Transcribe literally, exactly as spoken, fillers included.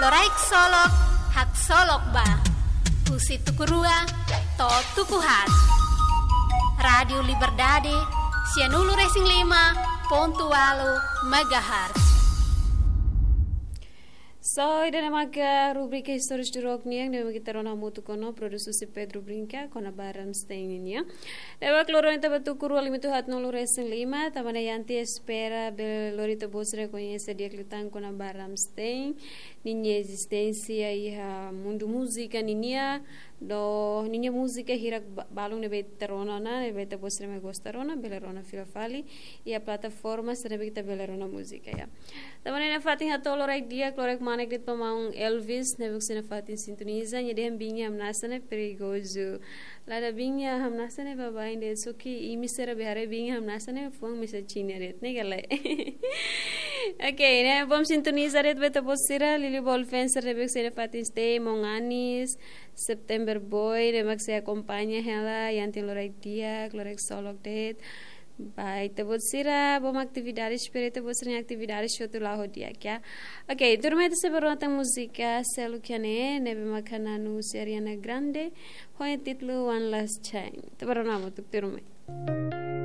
Loraik Solok, haksolok ba. Husi tuku rua to'o tuku haat. Rádiu Liberdade, sianulu-resin-lima pontu ualu megahertz. So, ida-ne'e maka rubrika Histórias do Rock nian, ne'ebé ita rona hamutuk ona, produsaun husi Pedro Brinca, kona-ba Rammstein nian. Ne'ebé loron ida-ne'e tuku rua limitu haatnulu-resin-lima, tanba ne'e ita espera bele lori ita-boot sira koñese di'ak liután kona-ba Rammstein, ninia ezisténsia iha mundu múzika nian, no ninia múzika hirak ba-, balun ne'ebé ita rona ona, ne'ebé ita-boot sira mak gosta rona, bele rona fila fali iha plataforma sira ne'ebé ita bele rona múzika, ya. Tanba ne'e iha fatin hato'o loraik di'ak, loraik manek de'it ba maun Elvis, ne'ebé husi nafatin sintoniza, nia dehan biin iha hamnasa ne'e perigozu. Lada biin iha hamnasa ne'e baibain de'it, só ke imi sira be haree biin iha hamnasa ne'e fuan mesak Xina de'it, ne'e ka lae? Ok, ne'e bom sintoniza de'it ba ita-boot sira, Lili Bol fans sira ne'ebé husi nafatin stay, maun Anis, September Boy, ne'ebé mak sei akompaña hela, iha fatin loraik di'ak, loraik solok de'it. Ba ita-boot sira, bom atividade, espera ita-boot sira-nia atividade hotu la'o ho di'ak, ya. Ok, tuirmai ita sei bá rona tan múzika seluk iha ne'e, ne'ebé mak hanesan husi Ariana Grande, ho nia títulu One Last Time. Ita bá rona hamutuk tuirmai.